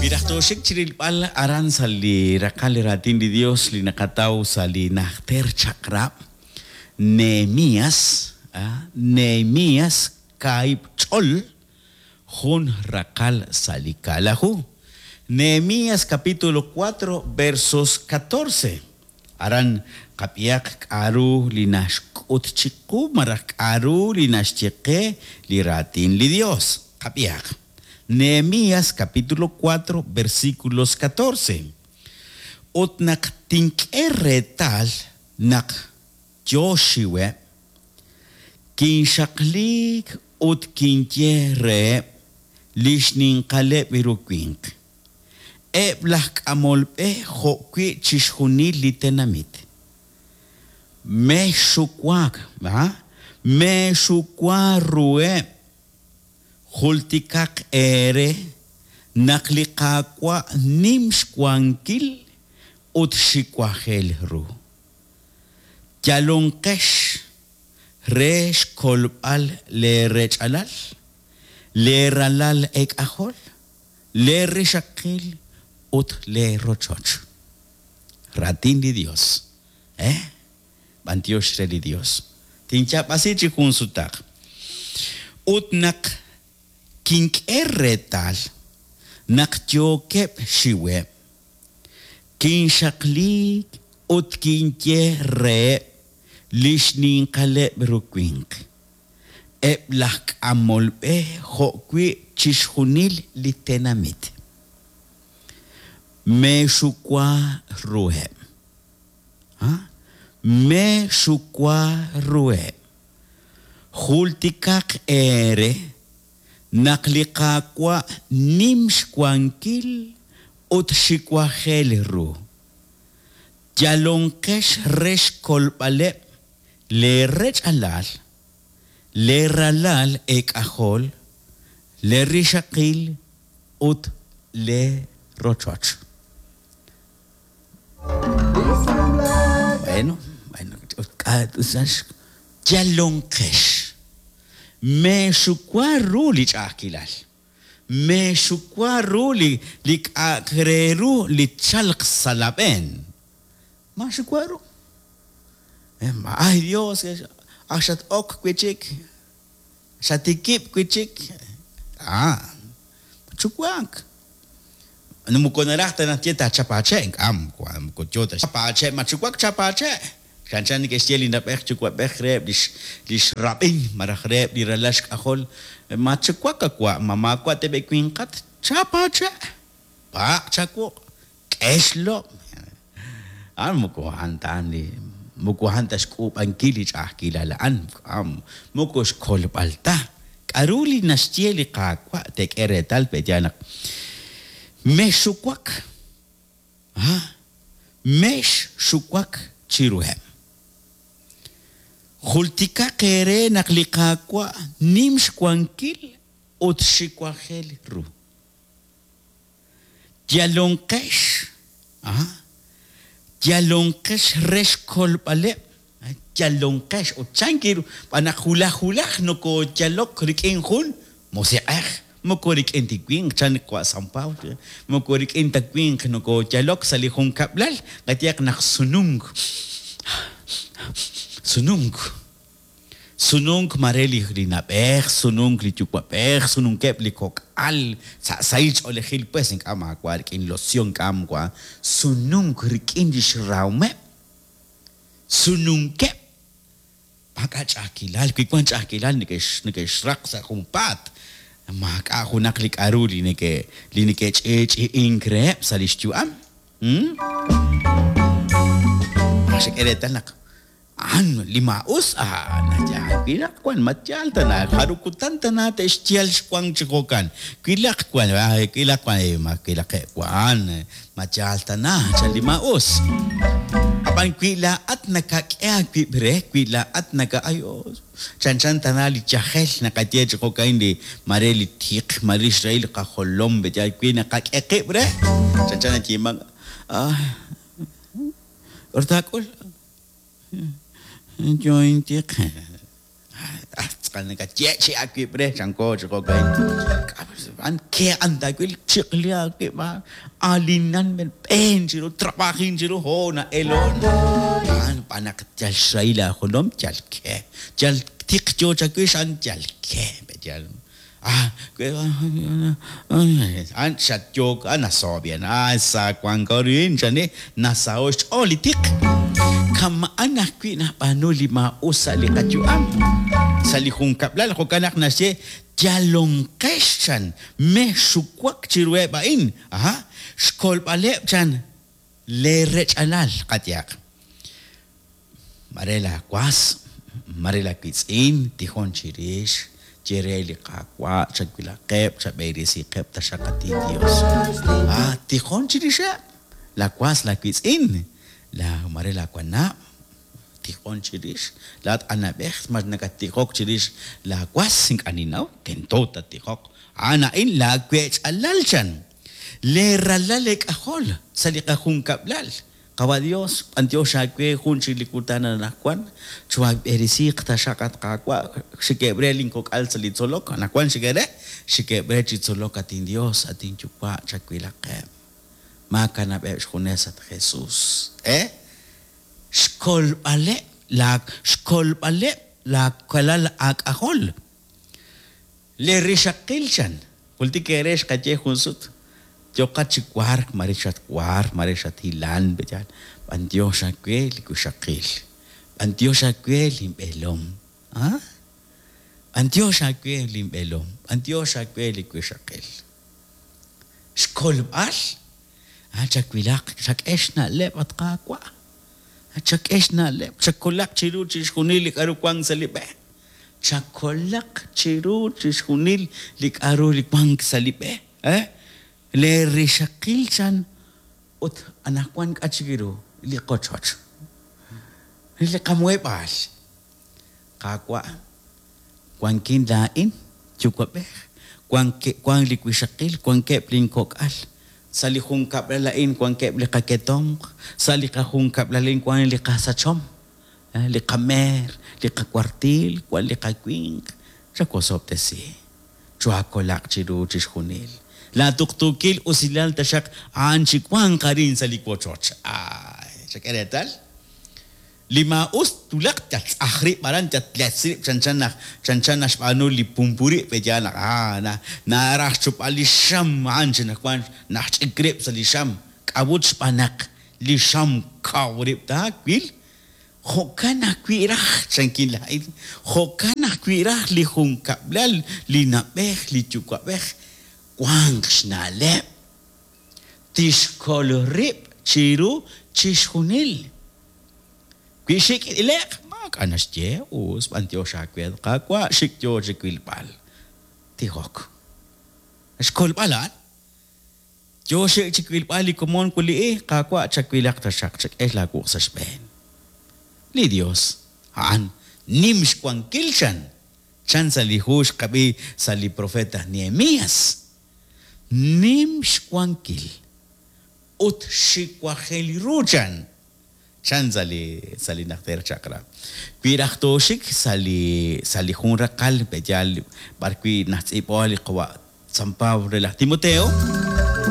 Wi raj tooxik chirilb'al aran sa' li raqal li raatin li Dios li naqataw sa' li Najter Chaq'rab', Nehemias, Nehemias kaahib' ch'ol, jun raqal sa' li kaalaju. Nehemias capítulo cuatro versos catorce. Aran qab'ihaq k'a'ru li naxk'ut chiqu malaj k'a'ru li naxye qe li raatin li Dios. Qab'ihaq. Nehemias capítulo cuatro versículos catorce. Ut naq tink'e reetal naq yoo xxiweb', kinxaqliik ut kinye reheb' li xninqaleb' ru winq, eb' laj k'amol b'e jo'wi' chixjunil li tenamit. Mexxuwaak, meexuwa ruheb', jultikaq eere naq li Qaawa' nim xwankil ut xiwajel ru. Yalonqex re xkolb'al leerech'alal, leeralal eek'ajol, lee rixaqil ut lee rochoch. Raatin li Dios. Eh? B'antiox re li Dios. Tinyaab'asi chi jun sutaq. Ut naq kink'e reetal naq yookeb' xxiweb', kinxaqliik ut kinye reheb' li xninqaleb' ru winq, eb' laj k'amol b'e jo'wi' chixjunil li tenamit. Meexuwa ruheb'. Ha? Meexuwa ruheb'. Jultikaq eere naq li Qaawa' nim xwankil ut xiwajel ru. Yalonqex re xkolb'aleb' lee rech'alal, lee ralal eek'ajol, lee rixaqil ut lee rochoch. Bueno, bueno, yalonqex. Meexuwa ru li ch'a'ajkilal. Meexuwa ru li li k'a'aq re ru li tchalq sa' laab'een. Maaxuwa ru. Ay Dios, ak xat-ok wi' chik, xatikib' wi' chik. Ah, matxuwak. Moko naraj ta naxye taachap aache', ink'a' moko yo ta chap aache', matxuwak chap aache'. Chanchan neke'xye li na'b'ej yuwa'b'ej reheb' lix lix rab'in malaj reheb' li ralal xk'ajol, Matxuwak a wa', ma maawa' tab'i' winqat, chap aache', paaq' chawuq', K'e xlob'. A'an moko a'an ta li moko a'an ta xk'uub'ankil li ch'a'ajkilal a'an, moko xkolb'al ta. K'a'ru li naxye li Qaawa' teek'e reetal pe'yaal naq mexxuwak, ha, mexxuwak chiruheb'. Jultikaq eere naq li Qaawa' nim xwankil ut xiwajel ru. Yalonqex, aha, yalonqex re xkolb'aleb', yalonqex ut chank ru, xb'aan naq wulaj wulaj nokooyalok rik'in jun musiq'ej, moko rik'in ta winq, chan li qawa' San Pablo, moko rik'in ta winq nokooyalok sa' li junkab'lal, qayehaq naq sununk, sununk. Sununk mare li li na'b'ej, sununk li yuwa'b'ej, sununkeb' li kok'al sa' sahil ch'oolejil pues ink'a' maawa' rik'in losion ink'a' maawa' sununk rik'in lix rahomeb', sununkeb' maak'a' ch'a'ajkilal, wi wan ch'a'ajkilal neke'x neke'xraq sa' junpaat, maak'a' junaq li k'a'ru li neke' li neke'ch'i'ch'i'ink reheb' sa' lix yu'am. Xek'e reetal naq A'an li maa'us, a'an yaal. Wilaq wan, ma yaal tana, jarub' kutan tana te'xyal xwank chi jo'kan. Wilaq wan, wilaq wan, ma wilaqeb' wan, ma yaal tana, chan li maa'us. Ab'an wi laa'at nakak'e aawib' re, wi laa'at naka, ay, chanchan tana li yajel naqaye chi jo'ka'in li mare li tiq, mare li xrahil li qajolom, wi naqak'e qib' re, chanchan nayeemank, ay, k'aru taak'ul? Yo intiq. tz'aqal nakatyeechi'i aawib' re, chanko chi jo'ka'in. A'an ke'an taawil, chiq'li aawib', alinan, b'een chiru, trabajin chiru, ho na'elon. A'an b'an naq yal xrahil aajolom, yal ke. Yal tiq yo chawix, a'an yal ke. Yal A'an xatyook, a nasaho' b'i'an, a sa wanko arin chani, nasaho' xch'ool li tiq. Kama'an ajwi' nab'aanu li maa'us sa' li qayu'am, sa' li junkab'lal, jo'kan naq naxye, yalonqex chan, mexxuwak chiruheb' a'in, aha, xkolb'aleb' chan lee rech'alal, qayehaq. Mare laawas, mare laawiitz'in, tijon chirix, ye re li Qaawa', chawilaqeb', chab'eresiqeb' taxaq, at inYos. A Tijon chirixeb', laawas, laawiitz'in, laa mare laawanab', tijon chirix. Laa'at anab'ej, ma nakattijok chirix laawas? Ink'a' ninnaw, tento tattijoq. A'an a'in laawech'alal, chan. Lee ralal eek'ajol sa' li qajunkab'lal. Qawa' Dios, b'antiox aawe jun chik li kutan anajwan, choohaab'eresiiq taxaq, at Qaawa', xikeb' re lin kok'al sa' li tzolok, anajwan xikeb' re, xikeb' re chi tzolok, at inDios, at inYuwa', chawilaqeb'. Maakanab'eb' xjunes, at Jesus. E Xkolb'aleb' laa, xkolb'aleb' laa walal aak'ajol. Li rixaqil chan, jultik eere xqaye jun sut, yooqat chi wark, mare xatwark, mare xathilan, pe'yaal? B'antiox aawe li wixaqil, b'antiox aawe linb'eelom, ah? B'antiox aawe linb'eelom, b'antiox aawe li wixaqil. Xkolb'al, ah, chawilaq, chak'e xna'leb', at Qaawa', chak'e xna'leb', chakolaq chiru chixjunil li k'a'ru wank sa' li b'e. Chakolaq chiru chixjunil li k'a'ru li wank sa' li b'e. Eh? Lee rixaqil chan ut anaqwan k'a' chik ru li qochoch, li qamuheb'aal. Qaawa', wankin laa'in, yuwa'b'ej, wank li wixaqil, wankeb' lin kok'al. Sa' li junkab'lal a'in wankeb' li qaketomq, sa' li qajunkab'lal a'in wank li qasachom. Li qameer, li qawartiil, wan li qawinq, chawosob'tesi, choohakolaq chiru chixjunil. Laa tuqtuukil usilal taxaq a'an chiwanq arin sa' li wochoch. Aay, chak'e reetal. Li maa'us twulaq yal tz'aj rib' aran, yal tletz rib' chanchan naq chanchan naxb'aanu li pumpuri' pe'yaal naq aa na naraj xchupb'al li xam a'an chi naq wan naxch'ik rib' sa' li xam. K'a'ut xb'aan naq li xam kaw rib' taawil? Jo'kan ajwi' raj, chankin laa'in, jo'kan ajwi' raj li junkab'lal, li na'b'ej, li yuwa'b'ej, wanq xna'leb', tixkol rib' chiru chixjunil. Wi xik' ile'q, maak'a' naxye, us, b'antiox aawe, at Qaawa', xik' yoo chi wilb'al. Tijok. Xkolb'al a'an. Yoo xik' chi wilb'al li komon wuli'i, Qaawa', chawilaq taxaq, chak'e laawuq' sa' xb'een. Li Dios, a'an nim xwankil, chan, chan sa' li hu xqab'i sa' li profeet aj Nehemias. Nim xwankil ut xiwajel ru, chan, chan sa' li sa' li Najter Chaq'rab'. Wi raj tooxik sa' li sa' li jun raqal pe'yaal b'ar wi' najtz'iib'o li qawa' San Pablo re laj Timoteo.